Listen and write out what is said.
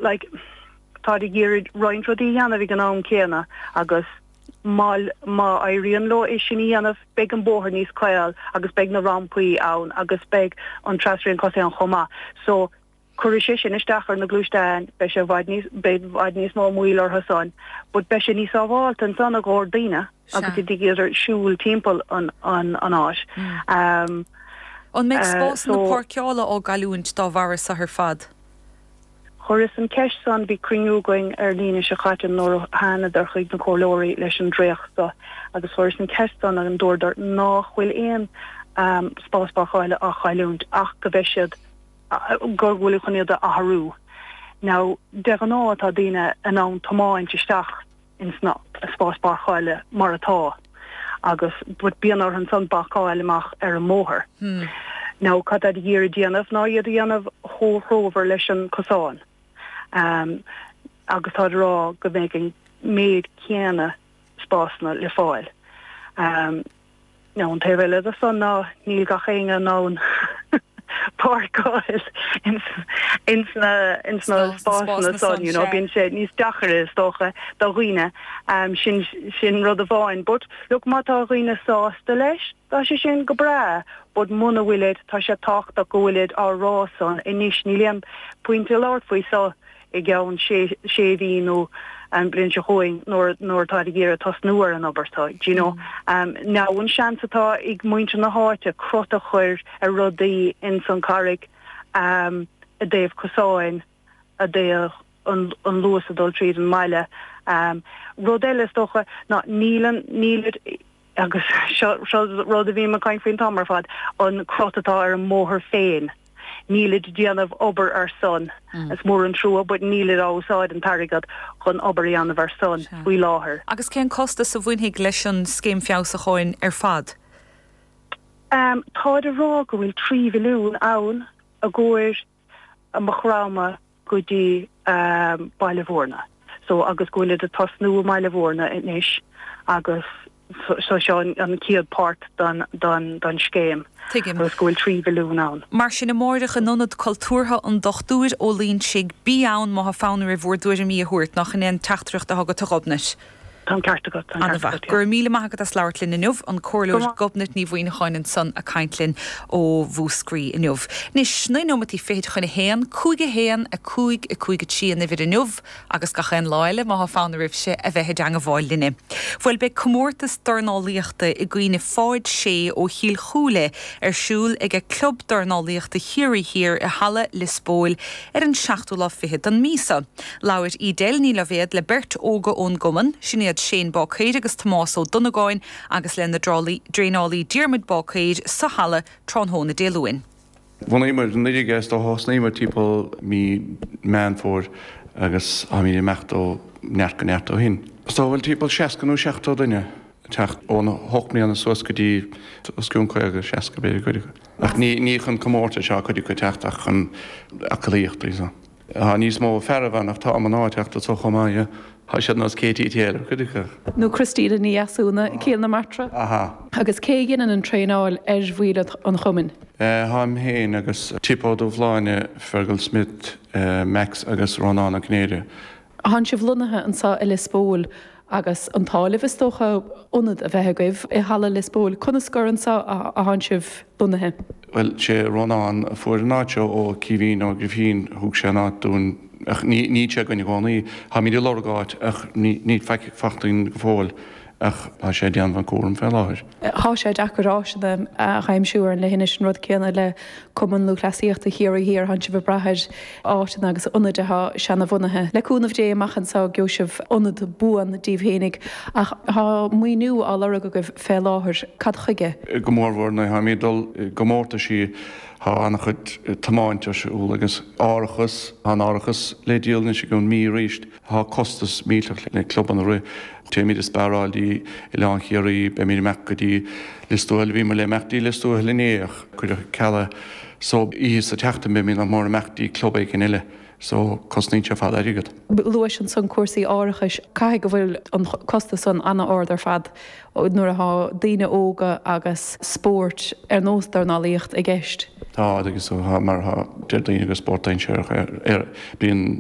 like táid ag iarraidh roinnt rudaí a dhéanamh ag an am céanna agus má má éiríonn leo é sin a dhéanamh beidh an bóthar níos caol agus beidh na rampaí ann agus beidh an trasrian cosaí ann chomh maith. So cuirfidh sé sin isteach ar na gluaisteáin, beidh sé i bhfad níos beidh i bhfad níos mó moill orthu san but beidh sé níos sábháilte ansan i gcomhair daoine agus iad ag iarraidh siúl timpeall an an an áit. Um An mbeidh spásanna páirceála á gcailliúint dá bharra so ar fad? Chuireas an ceist san, bhí cruinniú againn ar an Aoine seo chaite nuair a thánadar chuig na comhairleoirí leis an dréacht so agus chuireas an ceist san agus dúradar nách bhfuil aon spás páirceála á chailliúint ach go mbeidh siad, go bhfuil chun iad a athrú. Now de ghnáth tá daoine in ann tiomáint isteach ins na spáis páirceála mar atá agus but bíonn orthu ansan bacáil amach ar an mbóthar. Now cad táid ag iarraidh déanamh ná iad a dhéanamh chomh threomhar leis an cosán agus táid ag rá go mbeidh an méid céanna spásanna le fáil. Now an taobh eile de san ná níl gach éinne in ann páirceáil ins ins na ins na spásanna san, you know, bíonn sé níos deacaire is dócha do dhaoine, sin sin rud amháin. But look má tá dhaoine sásta leis, tá sé sin go breá, but muna bhfuilid, tá sé tábhachtach go bhfuilid á rá san anois, níl aon pointe labhairt faoi so. i gceann sé mhí nó an bhliain seo chugainn nuair nuair atáid ag iarraidh tosnú ar an obair so, do you know. Now an seans atá ag muintir na háite crot a chur ar rudaí ins an Charraig i dtaobh cosáin, i dtaobh an an luas ag dul tríd an mbaile. Rud eile is dócha ná níl an nílid agus seo seo rud a bhím ag caint faoin t-am ar fad, an crot atá ar an mbóthar féin. Nílid ag déanamh obair ar san. Is mór an trua but nílid á úsáid an t-airgead chun obair a dhéanamh ar san faoi láthair. Agus cén costas a bhainfidh leis an scéim feabhsúcháin ar fad? Táid ag rá go bhfuil 3 mhilliún ann i gcomhair Maigh Chromtha go dtí Baile Mhúirne. So agus go bhfuilid ag tosnú i mBaile Mhúirne anois agus so seo an chéad páirt don don scéim Tuigim. agus go bhfuil 3 mhilliún ann. Mar sin amáireach in Ionad Cultúrtha an Dochtúir Ó Loingsigh, bí ann má thá fonn oraibh bhur dtuairimí a thabhairt, nach in é an teachtaireacht atá agat a Ghobnait? Tá an ceart agat, tá an ceart agat, yeah. Go raibh míle maith agat as labhairt linn inniu, an Comhairleoir Gobnait Ní Mhuimhneacháin ansan ag caint linn ó Mhúscraí inniu. Anois, 9 nóimeataí fichid chun a haon, 5 1, 5 5 3 an uimhir inniu agus gach aon lá eile má thá fonn oraibhse a bheith i dteangabháil linne. Bhuel, beidh comórtas dornálaíochta i gcuimhne Pháid Sé ó Chill Chúile ar siúl aige Club Dornálaíochta Chiarraí Thiar i Halla Lios Póil ar an seachtú lá fichead den mí seo. Labhair Edel Ní Loibhéad le beirt óga ón gcumann, sin iad Shane Báicéir agus Tomás Ó Donnagáin agus lena dtraenálaí Diarmuid Báicéir sa halla tráthnóna Dé Luain. Bhunaíomar anuraidh é is dócha, thosnaíomar timpeall mí Meán Fómhair agus táimid ag imeacht ó neart go neart ó shin. Is dócha go bhfuil timpeall 60 nó 70 duine ag teacht, óna hocht mbliana suas go dtí os cionn 50, 60 b'fhéidir cuid acu. Ach ní chun comórtais atá cuid acu ag teacht ach chun aclaíochta so. Tá níos mó fearaibh ann ach tá mná ag teacht anso chomh maith, yeah. Tá siad nós Katie Taylor, cuid acu. Nó Christina Ní Dheasúna, Cill na Martra. Aha. Agus cé a dheineann an traenáil ar bhaill an chumainn? Táim féin agus Tip Ó Dubhshláine, Fergal Smith, Max agus Rónán Ó Cinnéide. Thánn sibh lonnaithe anseo i Lios Póil agus an t-ádh libh is dócha ionad a bheith agaibh i Halla Lios Póil. Conas gur anseo a thánn sibh lonnaithe? Bhuel, sé Rónán a fuair an áit seo ó Caoimhín Ó Grifín, thug sé an áit dúinn ach níl sé againn i gcónaí. Táimid ag lorg áit ach níl faighte againn go fóill ach tá sé ag déanamh an cúram fé láthair. Thá sé deacair áiseanna a aimsiú ar an leithinis, an rud céanna le Cumann Lúthchleasaíochta Chiarraí Thiar, thánn sibh ag brath ar áiteanna agus ionaid athá seanabhunaithe. Le cúnamh Dé amach anso gheobhaidh sibh ionad buan díbh fhéinig ach thá maoiniú á lorg agaibh fé láthair, cad chuige? Go mórmhór nuair atháimid ag dul i gcomórtaisí thá an-chuid tiomáint ar siúl agus árachas, thá an árachas le díol anois i gcionn mí arís. Tá costas millteach le clubanna a rith. Téimid ag spearáil dtí Oileán Chiarraí, beimid ag imeacht go dtí Lios Tuathail, bhíomar le imeacht dtí Lios Tuathail inné ach cuireadh ceal é. So oíche sa tseachtain beimid nach mór ag imeacht dtí club éigin eile. So cosnaíonn sé ar fad airgead. Luais ansan cúrsaí árachais. Caithfidh go bhfuil an costas san an-ard ar fad nuair athá daoine óga agus spóirt ar nós dornálaíocht i gceist. Tá, agus tá, mar tá, deir daoine gur spórt dainséarach é. Bíonn.